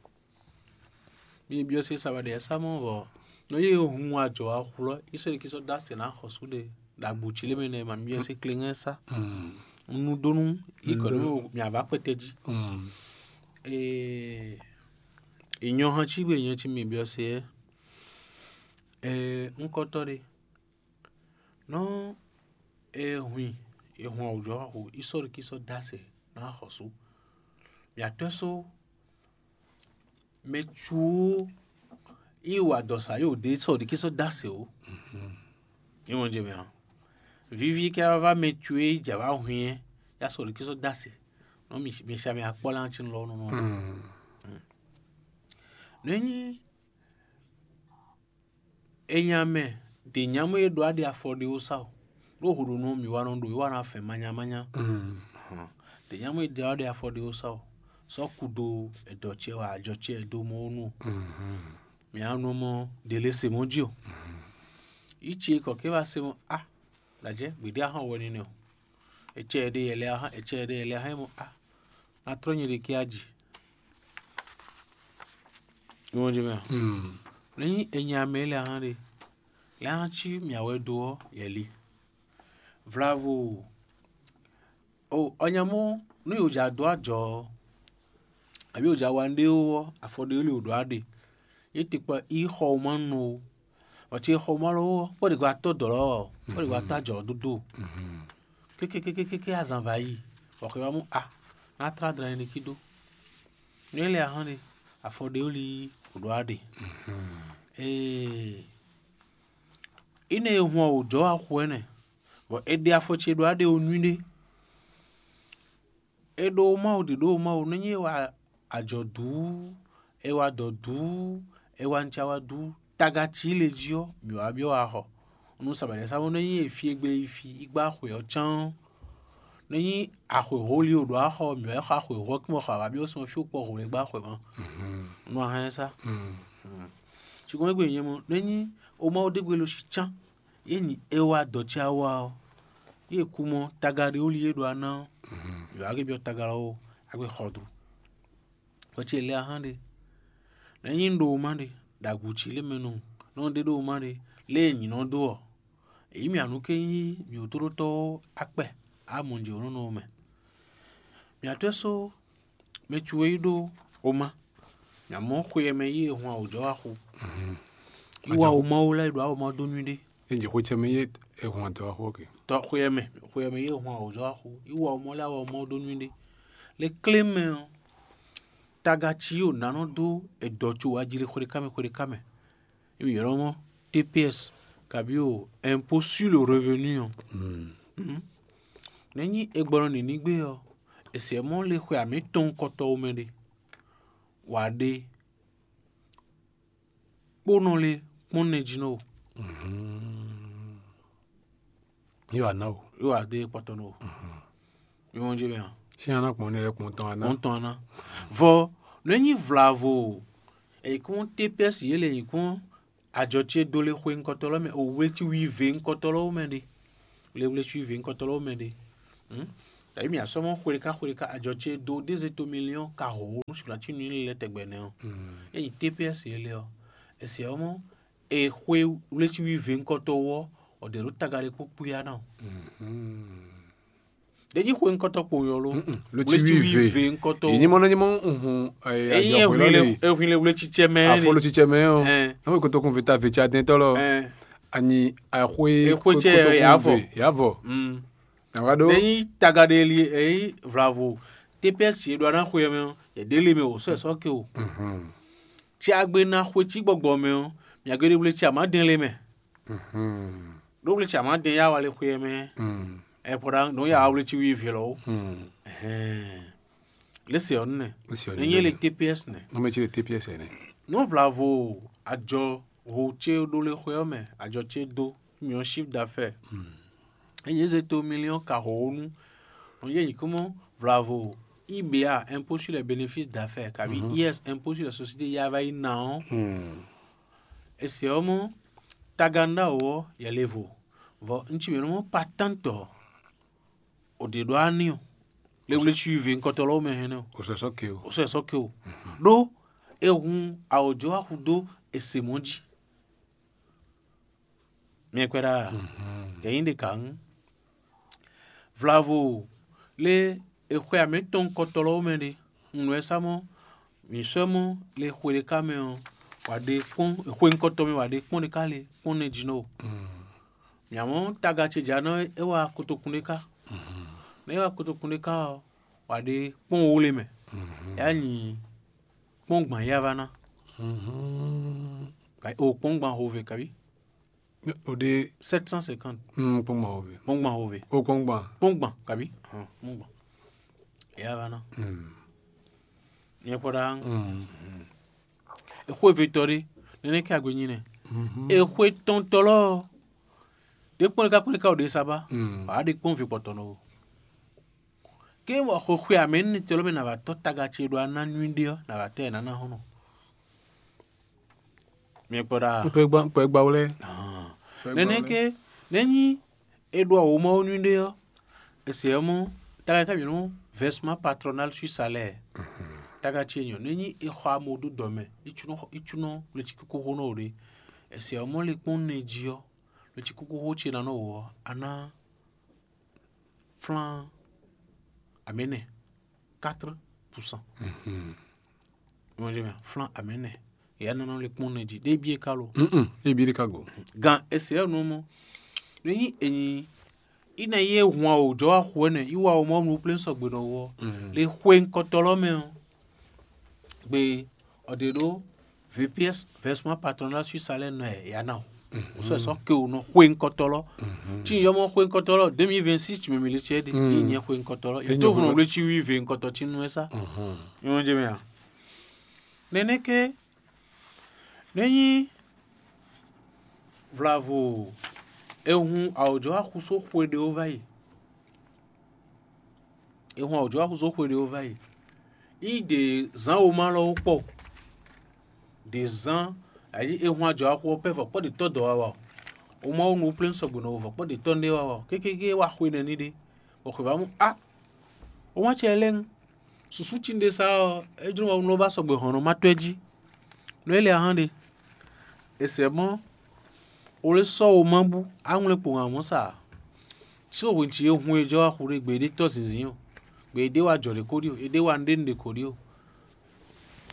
Mi byɔ́ se sa wɛ ɖe sa mɔ vɔ nɔ yé hun ajɔ axu lɔ yi sɔ́ ɖi kí sɔ́ dó asɛ ná xɔsú ɖe ɖo agbo cí lé mɛ nɛ ma mi byɔ́ se klengɛ sa. Nu dó nú yi kɔ nú mi avá kpɛtɛ jí. Ee, ìnyɔ hɔn cí gbe ìnyɔ cí mi byɔ́ se ɛ. Ee, ŋkɔtɔ ɖe. Nɔ e hwin e hwɛn wǔjɔ xo isɔ́likísɔ́ dó asɛ ná xɔsú. Mǐ atɔ́ só mɛ cu ó yi wa dɔ sa yi wǒ dé sɔ́likísɔ́ dó asɛ ó. Nyɛ mɔ jɛ mɛ ǎ. Vivi kɛ wá vá mɛ cu e yi jǎ wá hwin ɛ yá sɔ́likísɔ́ dó asɛ. Nɔ mi mi sa mɛ akpɔ́ lé cí lɔ nɔ nɔ. Nɔ nyí Enya mɛ ɖě nyámɔ e ɖó aɖe afɔ ɖé ó sa o, ɖó hǔɖónú ɔ́ mǐ wá nɔ ɖo é wá ná fɛn manyamanya. Ɖě nyámɔ e ɖó aɖe afɔ ɖé ó sa o, sɔ́ kudo ɛdɔ ce wá ajɔ ce dó mɔ ó nu o. Mǐ á nɔ mɔ ɖě lě se mɔ̌ jí o. Yi ce kɔ̌ ké wá se mɔ a, ɖajɛ gbeɖé ahɔn wɛ nínɛ o. Ecɛ ɖé yɛ lɛ ahán, ecɛ ɖé yɛ lɛ ahán mɔ a, na trɔ́ nyɛ ɖe kí aji. Ní wọ́n jẹ́ mẹ́rin. Lẹ́yìn ẹ̀yìn àmì ilẹ̀ ahán ɖe, lẹ́yìn tí mìàwẹ́ dó ọ́ yɛ li. Vlavo o ɔnyamɔ nú yòó dza dó ajɔ ɔ́, àbí yòó dza wa nɖé ó ɔ́, afɔ ɖé lé wò ɖó aɖe. Yě te kpa í xɔ wú ma nɔ ó. Ɔtí xɔ ma lɔ ó, kpɔ́ ɖě gba tɔ́ dɔ̌ lɔ ɔ́, kpɔ́ ɖě gba tá jɔ̌ dódó. Kékékékéké azan va yi, bɔ xwe wá mú a, ná tlá dlɛn ɖé kí dó. Nú é lɛ ahán ɖe, afɔ ɖé ó lí wò ɖó aɖe. Ee, ine e hun ɔ́ wò jɔ́ axu ɛnɛ, bɔ è ɖe afɔ ce ɖó aɖe ó nú ɖé. È ɖo Mawu ɖi ɖó Mawu nú nyí è wa ajɔ̌dǔ, è wa dɔ̌dǔ, è wa ncawadǔ, taga cí le jí ɔ́, mǐ wá byɔ́ axɔ. Nú sabɛ̌ sá nú nyí è fi e gbe yi fi yi gbá xwe ɔ́ cán ɔ́, nú nyí axwe holi o ɖo axɔ mǐ wá xɔ axwe hɔ kí mɔ xɔ awǎ byɔ́ sɔn fí kpɔ hwlɛ́ gbá xwe mɔ. Nú a hɛn sá. Cukɔn égbé nyɛ mɔ, nú nyí o Mawu ɖé gbe lo sí cán. Yě nyi é wá dɔ̌ ce awa ɔ́, yě kú mɔ taga ɖé wú lí é ɖo aná ɔ́, yǒ wá gé byɔ́ taga ɔ́ ó, á gbé xɔ dó. Hwɛ ce lɛ́ɛ ahán ɖe, nɛ̌ nyí un ɖo wúma ɖe, ɖo agu cí lé mɛ nɔ nɔ ɖé ɖo wúma ɖe, lé e nyǐ nɔ dó ɔ́, èyí mì anǔ ké nyí mì wútóɖótɔ́ ɔ́ akpɛ á mɔ jǐ nɔ nɔ mɛ. Mì atɔ́ só mɛ cu e yi ɖó woma, mì amɔ̌ xwe e mɛ yí e hun awǒjɔ́ wá xo. Yi wá woma ó lɛ́ɛ ɖo awɔmɔ dó nú ɖé. Ényí xwe ce mɛ yé è hun adɔ axó ke. Tɔ xwe ɛ mɛ, xwe ɛ mɛ yé hun awɔzɔ axó. Yi wɔ mɔ lɛ awɔ mɔ ɖó nú ɖé. Le klé mɛ ɔ́, taga cí yǒ nánɔ dó edɔ co wá jí lé xwé ká mɛ xwé ká mɛ. Yi ylɔ́ mɔ T P S kabi o impôt sur le revenu ɔ́. Nɛ̌ nyí è gbɔ nɔ nǐ ní gbé ɔ́, è sɛ mɔ̌ le xwe amǐtɔn kɔtɔ́ wú mɛ ɖé, wǎ ɖé kpónɔ lé kpɔ́n nɛ jí nɔ o. Yóò wá ná o. Yóò wá dé kpɔtɔ nɔ o. Mi mɔ jɛ mɛ a? Ṣé aná kpɔn ní ẹ kpɔn tán aná? Kpɔn tán aná. Vɔ nɔ nyí vlavo o. Èyí kún T P S yě lè nyí kún ajɔ ce dó lé xwe ŋkɔtɔ lɔ mɛ o, wléci wi ve ŋkɔtɔ lɔ mɛ ɖe. Le wléci wi ve ŋkɔtɔ lɔ mɛ ɖe. Tàbí mi asɔmɔ xwe ɖeka xwe ɖeka ajɔ ce dó dézé to miliɔn ka hǒ nú sùgbà tí nǔ lɛ tɛgbɛ nɛ ɔ. Ényí T P S yě lɛ ɔ, èsì ɔmɔ èxwe wléci wi ve ŋkɔtɔ wɔ, ɔdɛ ɖo taga ɖe kpó kpúya ná. Ɖe jí xwe ŋkɔtɔ kpo yɔ lo. Lóci wi ve. Ŋkɔtɔ. Èyí mɔ ní mɔ nhun Èyí ehwin le ehwin le wléci cɛ mɛ. Afɔ lóci cɛ mɛ ɔ. Ɛn. Náwó kotokun vita veta dɛn tɔlɔ. Ɛn. Ani axwe Exwe cɛ yavɔ. Yavɔ. Mm. Nàwa ɖó. Ɖe nyí taga ɖe li èyí vlavo T P S yě ɖo aná xwe mɛ ɔ, yě ɖe le mɛ o sɔ sɔ ke o. Tí a gbé ná xwe tí gbɔgbɔ mɛ ɔ, mia gbé ɖe wléci amá dɛn le mɛ. Ɖó wléci amá dɛn yá wa le xwe mɛ. Ɛ pɔɖa nɔ yá wa wléci wi vě lɔ o. Ɛhɛn. Lé se ɔ́ nɛ. Nɛ nyɛ le T P S nɛ. Nɔmɛ ci le T P S nɛ. Nú vlavo ajɔ ho ce ɖó lé xwe ɔ́ mɛ, ajɔ ce dó miyɔn chiffre d'affaires. Ényí é zé to miliɔn ka hǒ nú nɔ yɛ nyǐkúmɔ vlavo I B A, impôt sur les bénéfices d'affaires, kabi I S, impôt sur les sociétés, ya va yi na ɔ́. Esi ɔ́ mɔ taga nɖá wǒ ɔ́ yɛ levo. Vɔ un ci mɛ nú mɔ patantɔ ò ɖe ɖɔ ani o. Le wle ci ve ŋkɔtɔ lɔwɔ mɛ hɛn nɛ o. O sɔ sɔ ke o. O sɔ sɔ ke o. Ɖó e hun awɔjɔ axu dó ese mɔ jí. Miɛ kwɛ ɖa. Yɛ nyi ɖe ka ŋu. Vlavo le exwe amɛtɔn ŋkɔtɔ lɔwɔ mɛ ɖe. Un nɔ ɛ sa mɔ mǐ sɔ́ mɔ le xwe ɖé ká mɛ ɔ́, wǎ ɖe kpɔ́n xwe ŋkɔtɔ mɛ wǎ ɖe kpɔ́n ɖé ká le kpɔ́n nɛ jí nɔ o. Mǐ mɔ taga ce jǎ nɔ é wá kotokun ɖé ká. Nɔ é wá kotokun ɖé ká ɔ́, wǎ ɖe kpɔ́n wó le mɛ. É wá nyi kpɔ́n gban yá vá ná. O kpɔ́n gban hove kabi. O ɖe Sept cent cinquante. Kpɔ́n gban hove. Kpɔ́n gban hove. O kpɔ́n gban. Kpɔ́n gban kabi. Kpɔ́n gban. Yá vá ná. Nyɛ kpɔ ɖa. Exwe vetɔ ɖe nɛnɛ kɛ agbe nyi nɛ. Exwe tɔntɔ lɔ ɖe kpɔn ɖe ka kpɔn ɖe ka o ɖe saba. Wǎ ɖe kpɔn ve kpɔtɔ nɔ o. Ke wɔ xwexwe amɛ ní tɔ lɔ mɛ nà va tɔ taga ce ɖo ana nyui ɖe ɔ́ nà va tɛ nana hɔn nɔ. Miɛ kpɔ ɖa. Kpɛ gba kpɛ gba wlɛ. Nɛnɛ ke nɛ nyi e ɖo awo mawo nyui ɖe ɔ́, ese ɔ́ mɔ taga ka mǐ nɔ versement patronal sur salaire. Taga ce nyɔ nɛ nyi e xɔ amo ɖo dɔ mɛ itsúnɔ itsúnɔ wleci kókó xó nɔ o ɖe. Ese ɔ́ mɔ le kpɔn nɛ jí ɔ́, wleci kókó xó ce nɔ nɔ wɔ ɔ́, a ná flán amɛnɛ quatre pour cent. Flán amɛnɛ. Ìyá nana le kpɔn nɛ jí ɖé bíe ká lo. Ebi ɖe ka go. Gan ese ɔ́ nɔ mɔ. Nɛ nyi enyi ina ye hun awo jɔ wa xo ɛnɛ yi wa o mɔ nu plɛn sɔgbe nɔ wɔ. Le xwe ŋkɔtɔ lɔ mɛ ɔ gbe ɔɖe ɖo V P S versement patronal sur salaire nɔ ɛ ya na o. O sɔ sɔ ke o nɔ xwe ŋkɔtɔ lɔ. Tí n yɔ mɔ xwe ŋkɔtɔ lɔ deux mille vingt-six tu mɛ mi le cɛ de yi nyɛ xwe ŋkɔtɔ lɔ. Yi to vun wle ci wi ve ŋkɔtɔ tí nu ɛ sa. Yɔn jɛ mɛ a. Nɛnɛ ke nɛ nyi vlavo ehun awɔjɔ axuso xwe ɖe wo va yi. Ehun awɔjɔ axuso xwe ɖe wo va yi. Yi ɖe zán wo ma lɔ wo kpɔ. Ɖe zán ayi ehun ajɔ axu ɔ́ pɛ vɔ kpɔ ɖe tɔ dɔ wa wa o. O ma wo nu plɛn sɔgbe nɔ wo vɔ kpɔ ɖe tɔ nɖe wa wa o. Kékéké wa xwe nɛ ní ɖe. Bɔ xwe va mu a. O ma cɛ lɛn. Susu ci ɖe sa ɔ́, é jló wa nɔ va sɔgbe hɔn nɔ ma tɔ́ jí. Nɔ é lɛ ahan ɖe. Esɛ mɔ o lé sɔ́ wo ma bú aŋwlɛ kpo hàn mɔ sa. Só hwin ci e hun e jɔ wa xu ɖe gbe ɖé tɔ́ zinzin o. Gbe ɖé wa jɔ ɖe ko ɖi o, é ɖé wa nɖé nɖe ko ɖi o.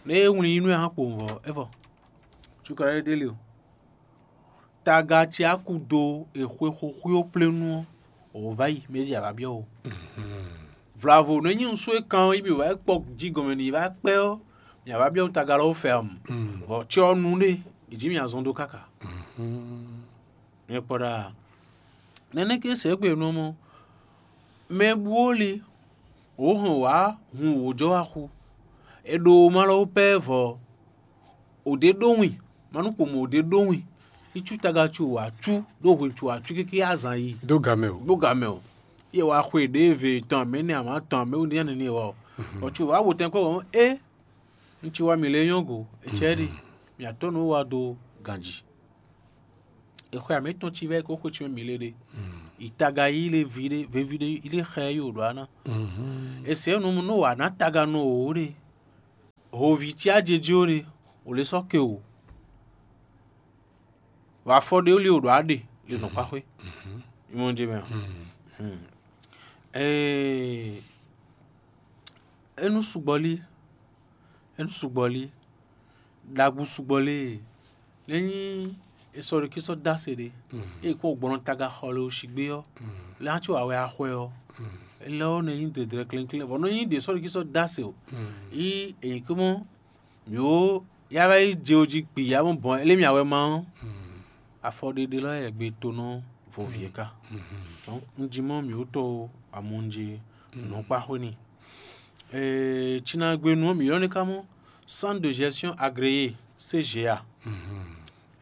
Nɛ é wlin yi nú ɛ hã kpo vɔ é vɔ. Cukala ɖé ɖé le o. Taga ce a ku do exwe xo xwio plénu ɔ́, o va yi mɛ ɖi a va byɔ́ o. Vlavo nɔ nyi nusú e kan ɔ́ yi mì wá kpɔ jí gɔmɛ n'i va kpɛ ɔ́, mì a va byɔ́ taga lɔ fɛ ɔ́. Bɔ cɛ ɔ́ nu ɖe, è jí mì azɔn dó káka. Mì kpɔ ɖa. Nɛnɛ ke sɛ gbe nɔ mɔ Mɛ bú ó li, wǒ hɔn wǎ hun wǒjɔ́ wá xú. È ɖo ma lɔ wó pɛ́ vɔ, ò ɖě ɖó win, ma nú kpomɔ ò ɖě ɖó win. Í cú taga cú wǎ cú ɖó hwenu cú wǎ cú kéké azǎn yi. Dó ga mɛ o. Dó ga mɛ o. Yě wá xwe ɖěve tɔn mɛ nɛ amǎ tɔn mɛ wúndí nyánɛ ní wɔ. Bɔ cú wǎ wo tɛn kpɔ́ wɔ é, un ci wá mǐ lé nyɔ́ go, é cɛ ɖi, mǐ atɔ́ nǔ wá dó ganji. È xwe amǐ tɔn ci vɛ́ kó xwe ci mɛ mǐ lé ɖe. Ìtaga yí lé vi ɖé veví ɖé yí lé xɛ yí wǒ ɖó aná. È sɛ nú nú wǎ ná taga nú wǒ ɖe. Hoví cí ajejí ó ɖe, wǒ lé sɔ́ ke wǒ. Vɔ afɔ ɖé wú lí wǒ ɖó aɖe le nǔkpáxwé. Ìmọ̀ ce mɛ a? Ee, é nú sugbɔ lí, é nú sugbɔ lí, ɖagbu sugbɔ lí. Lě nyí è sɔ́ ɖo kí sɔ́ dó ase ɖé, eye kó gbɔn taga xɔ le o sigbé ɔ́, lě ná có awɛ axwɛ ɔ́, lɛ ɔ́ nɔ nyí dɛdɛrɛ klɛ́nklɛ́n, bɔ nɔ nyí ɖě sɔ́ ɖo kí sɔ́ dó ase o. Yí èyí kó mɔ mǐ ó yá wá yi je o jí kpi yá mɔ bɔn élémì awɛ ma ɔ́, afɔ ɖeɖe lɔ yɛ gbe tonɔ vɔvie ká. Donc un jí mɔ mǐ ó tɔ amɔnje nɔkpa xwé ni. Ee, Cinagbenu ɔ́ mǐ ylɔ́ ní ká mɔ Centre de Gestion Agréé, C G A.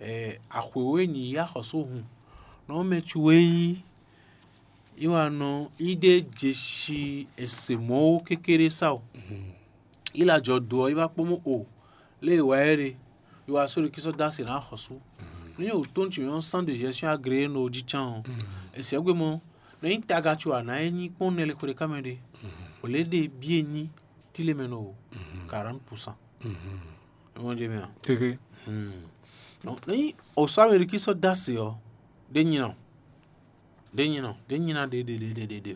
Ee, axwěwé ní yá xɔsó hun nɔ mɛ cu é yí yi wá nɔ yi ɖe jeshi ese mɔwo kékeré sa o. Yi la jɔ do ɔ́ yi wá kpɔ́n mɔ o lé e wá ɛ ɖe yi wá sóɖo kí sɔ́ dó asě ná xɔsú. Ní o tó nú tǐ mɛ ɔ́ Centre de Gestion Agréé nɔ jí cán ɔ́, ese ɔ́ gbe mɔ nɔ nyí taga co ana é nyí kpɔ́n nɛ le xwé ɖé ká mɛ ɖe. O lě ɖe bíe nyí tílemɛ nɔ o quarante pour cent. Ɛ mɔ jɛ mɛ a? Kéké. Nɔ nyí o sɔ́ amɛ ɖo kí sɔ́ dó asě ɔ́ ɖé nyí nɔ. Ɖé nyí nɔ, ɖé nyí ná ɖe ɖe ɖe ɖe ɖe ɖe.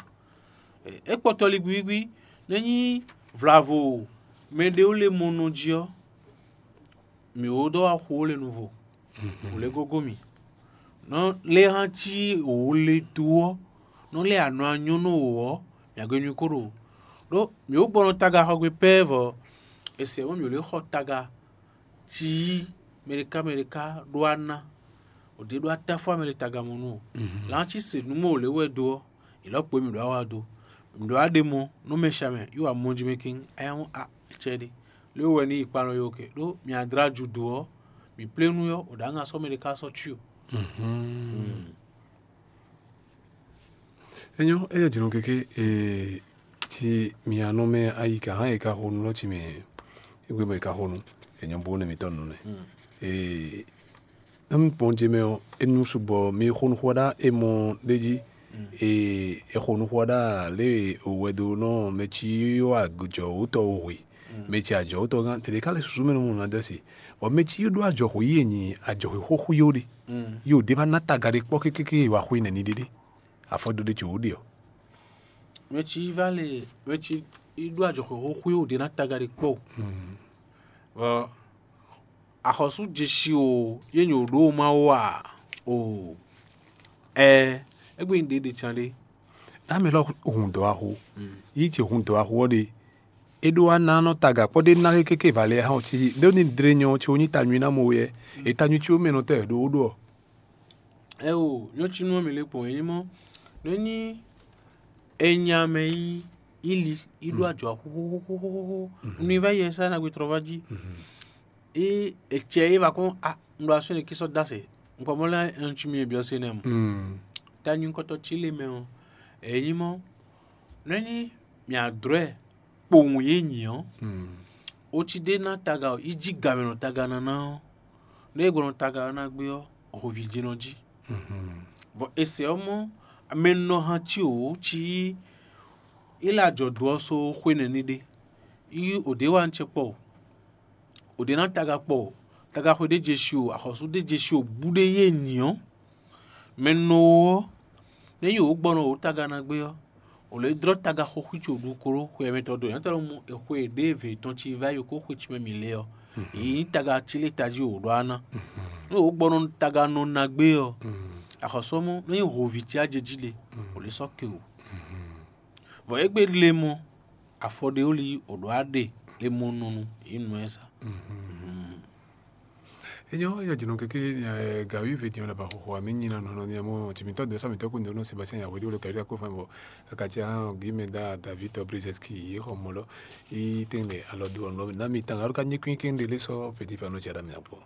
É kpɔtɔ ligbígbí, nɛ́ nyí vlavo mɛɖéwúlemɔnɔ jí ɔ́, mǐ ó ɖɔ wá xo ó le nuvo, wǒ lɛ́ gógó mì. Nɔ lɛ́ hán cí wǒ le dó ɔ́, nɔ lɛ́ anɔ anyɔ́ nɔ wǒ ɔ́, mǐ agbe nyú kó ɖo. Ɖó mǐ ó gbɔ nɔ taga xɔ gbe pɛ́ vɔ è sɛ mɔ̌ mǐ ó lɛ́ xɔ taga cí mɛɖeká mɛɖeká ɖó aná, ò ɖě ɖó atáfó amɛ ɖé tagamɔnú o. Lǎn cí se nǔ mɔ wǒ lɛ́ wɛ dó ɔ́, è lɔ̌ kpo mì ɖó awa dó. Mǐ ɖó aɖe mɔ nú mɛ sha mɛ yí wa mɔ jí mɛ kín, aya mɔ a cɛ ɖe. Lě wɛ ní yi kpanɔ yó ke ɖó mì adra ju dó ɔ́, mǐ plénu ɔ́, ò ɖǎ ŋa sɔ́ mɛ ɖé ká sɔ́ cí o. Enyɔ, eya jino keke e ti mi anɔ mɛ ayi ka hã e ka xo nu lɔ ti mɛ egbe mɛ e ka xo nu enyɔ bo ne mi tɔ nu nɛ. E na mi kpɔn je mɛ ɔ, enu sugbɔ mi xo nu xɔ ɖa e mɔ ɖe ji e e xo nu xɔ ɖa le o wɛ do nɔ mɛ ci yɔ ajɔ wotɔ o hwe mɛ ci ajɔ wotɔ gán tete ka le susu mɛ nu mu na dɛ si. Bɔ mɛ ci ɖo ajɔ xo yi e nyi ajɔ xo xo xo yo ɖe yo de va na taga ɖe kpɔ kekeke wa xo yi nɛ ni ɖe ɖe. Afɔdo ɖe tso wǒ ɖe ɔ́. Mɛ ci yi va le mɛ ci yi ɖó ajɔxwɛ xóxó yi wǒ ɖe ná taga ɖe kpɔ́ o. Vɔ axɔ́sú jeshi o yé nyò ɖó ma wá o. Ɛ égbé nyí ɖě ɖe can ɖé. Ame lɔ hun dɔ̌ axu. Yí ce hun dɔ̌ axu ɔ́ ɖe. É ɖó wá ná nɔ taga kpɔ́ ɖé ná kéké valɛ hã ɔ́ cí ɖó ní dlé nyɔ ɔ́ cí wó nyí ta nyui ná mɔ wɛ. È ta nyui cí wó mɛ nɔ tɛ ɖó wó ɖó ɔ́. Eo, nyɔ̌cínú ɔ́ mǐ lɛ́ kpɔ́n é nyí mɔ́. Nú é nyí è nya mɛ yi yi li yi ɖó ajɔ̌ xóxóxóxóxó, un ní vɛ́ yɛ sá ná gbe tlɔ́ vá jí. É è cɛ é va kɔn a un ɖo asú ɛnɛ kí sɔ́ dó asɛ. Un kpɔ mɔ̌ lɛ́ɛ un cí mi e byɔ́ se nɛ mɔ. Ta nyí kɔ́tɔ́ cí lé mɛ ɔ́, è nyí mɔ́. Nú é nyí mǐ adrɔ̌ ɛ kpowun yě nyi ɔ́, ocí ɖé ná taga ɔ́, yi jí gamɛ nɔ taga ná ná ɔ́, nú é gbɔ nɔ taga ɔ́ ná gbé ɔ́, hǒví jɛ́n nɔ jí. Vɔ è sɛ ɔ́ mɔ mɛ nɔ han cí wǒ cí yi lé ajɔ̌ dó ɔ́ só xwé nɛ́ ní ɖe. Yi ò ɖě wa un cɛ kpɔ o. Ò ɖě ná taga kpɔ o. Tagaxwe ɖé jeshi o, axɔ́sú ɖé jeshi o, bú ɖé yé nyi ɔ́, mɛ nɔ ó ɔ́, nú é nyí wǒ gbɔ nɔ wǒ taga ná gbé ɔ́, wǒ lɛ́ dlɔ́ taga xo xwí co ɖu klo xwe ɛmɛtɔn dó nyɔ̌tɔn lɔ mɔ è xwe ɖěe vě tɔn ci vá yi kó xwe ci mɛ mǐ lé ɔ́, yě nyí taga cí lé tají wǒ ɖɔ ná. Nú wǒ gbɔ nɔ taga nɔ ná gbé ɔ́, axɔ́sú ɔ́ mɔ nú é nyí hǒví cí ajejí le, wǒ lɛ́ sɔ́ ke wǒ. Vɔ égbé le mɔ afɔ ɖé wó li wǒ ɖɔ á ɖe le mɔ nɔ nu yě nɔ ɛ sa. Enyɔ ya jino keke gawí ve diɔ la ba xoxo ami nyina nɔnɔ ni amo timitɔ do sami tɔku ndo no Sébastien ya wedi wolo kari ko fan bo akatia gime da David Brizeski yi xɔ molo i tengbe alɔ do ɔnɔ na mi tanga ka nyi kwin kin de le sɔ petit fano tia da mi akpo.